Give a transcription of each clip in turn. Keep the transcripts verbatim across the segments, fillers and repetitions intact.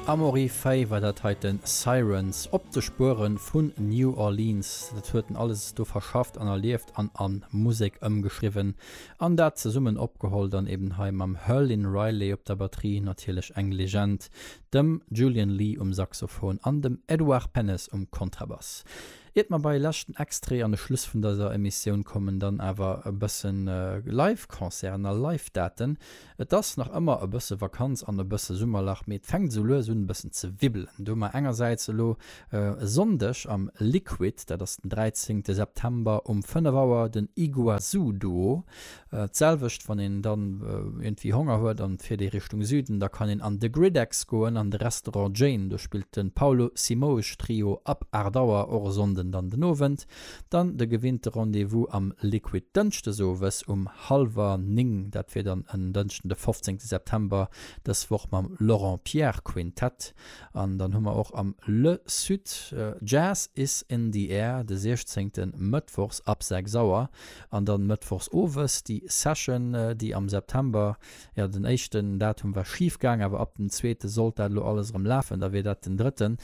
Amaury Fay war dat heiten, Sirens, op de Spueren vun New Orleans. Dat huet en alles do verschafft an erlieft an an Musek ëmgeschriwwen an dat zesummen opgeholl dann eben hei mam Herlin Riley op der Batterie, natierlech eng Legend, dem Julian Lee um Saxophon an dem Edouard Pennes um Kontrabass. Iert mer bei leschten Extrait an de Schluss vun dëser Emissioun kommen, dann awer e bëssen Live-Concerten a Live-Daten. Et ass nach ëmmer e bësse Vakanz an e bësse Summerlach, mee et fänkt esou lues un e bëssen ze wibbelen. Do hu mer engersäits elo e Sonndeg am Liquid, dat ass den dräizéngte September um fënnef Auer, den Iguazú Duo. D'selwecht wann een dann iergendwéi Honger huet an et fiert ee Richtung Süden, da kann een an de Gridex goen, an de Restaurant Jane, do spillt de Paulo Simoes Trio ab aacht Auer, och e Sonnden dann den Owend. Dann de gewinnte Rendez-vous am Liquid dënschdes owes um hallwer néng, dat wier dann en Dënschden de fofzéngte September, dës Woch mam Laurent Pierre Quintett. An dann hu mer och am Le Sud Jazz is in the air de siechzéngten mëttwochs ab sechs Auer. An dann mëttwochs owes déi Session, déi am September, jo den éischten Datum war schif gaang, awer ab dem zweete sollt dat elo alles erëm lafen, da wier dat den drëtten,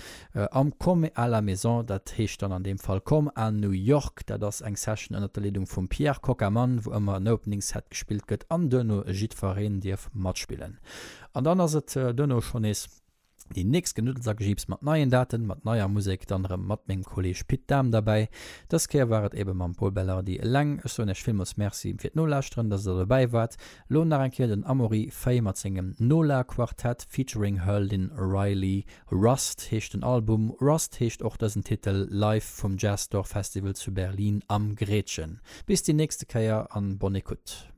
am Comme à la maison, dat heescht dann an deem Fall Comme à New York. Dat ass eng Session ënnert der Leedung vum Pierre Coccamann, wou ëmmer en Opening Set gespillt gëtt an duerno jiddwereen dierf matspillen. An dann ass et duerno schonn nees déi nächst Genuddels a Gejiips mat neien Daten, mat neier Musek, dann erëm mat mengem Kolleeg Pit Dahm derbäi. Dës Kéier war et ebe mam Pol Belardi eleng. Ech soen Iech villmools Merci fir d'Nolauschteren, dass der dobäi waart. Lo nach eng Kéier den Amaury Fay mat sengem Nola Quartett featuring Herlin Riley. Rust heescht den Album, Rust heescht och dësen Titel, live vum Jazzdoor Festival zu Berlin am Gretchen. Bis déi nächste Kéier an bonne écoute.